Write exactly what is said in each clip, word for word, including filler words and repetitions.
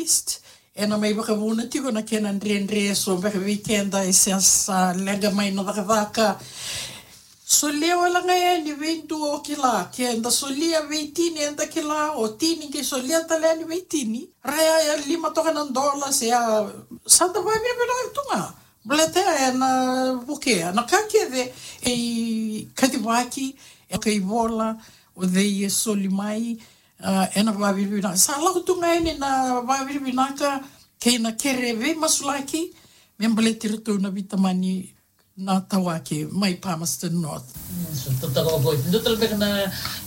East, ena mai vakavuna tiko na kena dredre, so beka vei keda e sa, sa leqa mai na cakacaka. Solia wale ga yani vei dua o kila, ke da solia vei tini eda kila, o tini ke solia tale yani vei tini. Raya ya lima toka na dola, se ya sa da vavinavinaka tu ga. Baleta ya ena vukea na ka kece e kacivaki, e kaivola, o cei e soli mai, ah, ena vavinavinaka. Sa lako tu ga yani na vavinavinaka kei na kere veimasulaki me baleti iratou na veitamani na Tawake mai Palmerston North. Mm, so totoka vakaoti. Dua tale beka na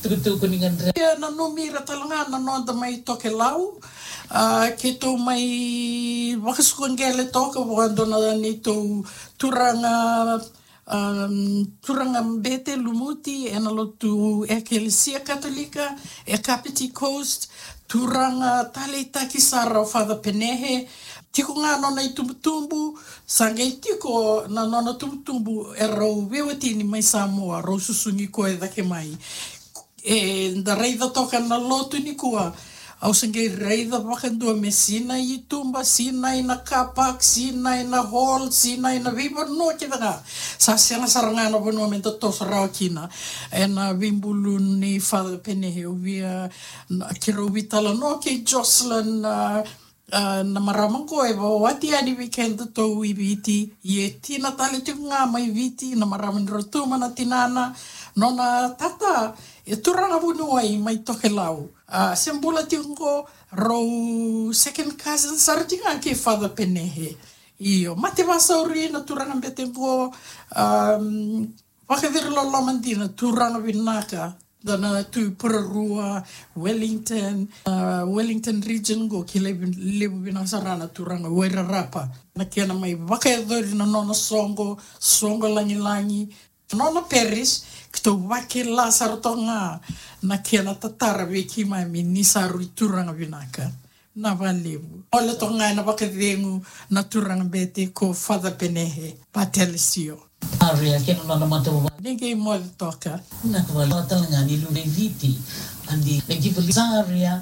tukutuku ni gadre. Ia nanumi ira tale ga na noda mai Tokelau. Ah, keitou mai vakasuka qele toka vua dua na neitou turaga, um, turaga bete lumuti ena lotu Ekelesia Katolika e Kapiti Coast, turaga taleitaki sara o Father Penehe. Tiko ga nona itubutubu, sa qai tiko na nona tubutubu e rau veiwatini mai Samoa, rau susugi koya cake mai. E da raica toka na lotu nikua, au se qai raica vakadua me sinai i tuba, sinai na car park, sinai na hall, sinai na veivanua kece ga. Sa sega sara ga na vanua me da toso rawa kina. Ena veibulu nei Father Penehe, au via, na, keirau veitalanoa kei Jocelyn, ah, ah, na marama qo e vakawati yani vei kedatou i Viti, ia e tina tale tiko ga mai Viti, na marama ni Rotuma na tinana, nona tata e turaga vuniwai mai Tokelau. Ah, se bula tiko qo, rau second cousin sara tiko ga kei Father Penehe. Io, mate vasauri na turaga bete qo, um, vakaciri loloma dina, turaga vinaka, da na tu i Porirua, Wellington, ah, Wellington region qo, kilai vin-, levu vinaka sara na turaga Wairarapa. Na kena mai vakayacori na nona soqo, soqo lagilagi, nona parish, keitou vakila sara toka ga na kena tatara vei keimami ni sa rui turaga vinaka. Na vakalevu. Ole toka ga ena vakacegu na turaga bete ko Father Penehe Patelesio. Aria, kena nona matavuvale. Ni qai moce toka. Na ka vale tale ga ni luve i Viti. Adi, na ki vali Saria.